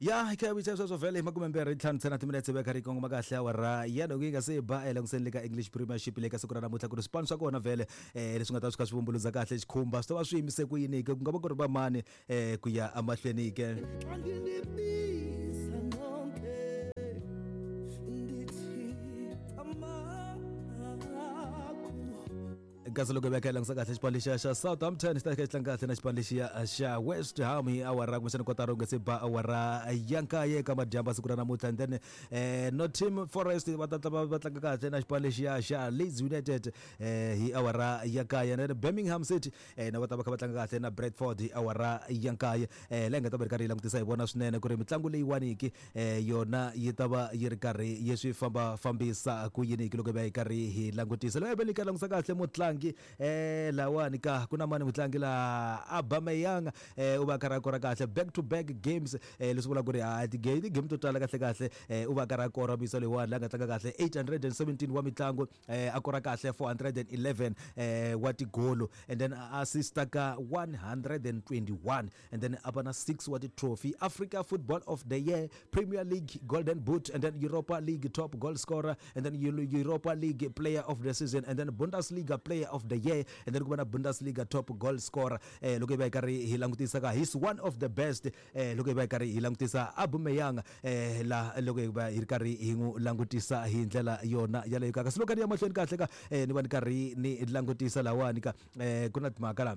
Ya hi kha hi sweswo vhele hi 25 ntsena timinetse veka ri kongoma kahle awara ya loko yi nga se ba elangutiseni le ka English Premiership le ka siku ra namuntlha ku ri swipano swa kona vhele leswi nga ta swi kha swi vumbuludza kahle xikhumba swi ta va swi yimise ku yini ke ku nga va ku ri vamani ku ya emahlweni ke. Xa ndinibiza nonke ndithi camagu. Kasi loko hi veka hi langutisa kahle xipano lexiya xa Southampton xi ta kha xi tlanga kahle na xipano lexiya xa West Ham hi awara kumbexana kotara ku nga se ba awara ya nkaye eka madyambu siku ra namuntlha. And then Nottingham Forest va ta va tlanga kahle na xipano lexiya xa Leeds United hi awara ya nkaye. And then Birmingham City na va ta va kha va tlanga kahle na Bradford hi awara ya nkaye. Laha hi nga ta va ri karhi hi langutisa hi vona swinene ku ri mitlangu leyiwaniki yona yi ta va yi ri karhi yi swi famba fambisa ku yini loko hi va hi karhi hi langutisa. Loko hi va hi karhi langutisa kahle mutlangi lawani ka ku na mani mutlangi la Aubameyang u va a karhi a kora kahle back to back games, leswi vulaka ku ri ha ti-game to tala kahle kahle u va a karhi a kora muyisa loyiwani la nga tlanga kahle 817 wa mitlangu, a kora kahle 411 wa tigolo and then a assista ka 121 and then a va na 6 wa ti-trophy, Africa Football of the Year, Premier League Golden Boot, and then Europa League top goal scorer, and then Europa League player of the season, and then Bundesliga player of the year, and then ku va na Bundesliga top goal scorer. Loko hi va hi karhi hi langutisa ka he's one of the best. Loko hi va hi karhi hi langutisa Aubameyang la loko hi va hi ri karhi hi n'wi langutisa hi ndlela yona yaleyo ka. Kasi loko ni ya mahlweni kahle ka ni va ni karhi ni langutisa lawani ka ku na timhaka la.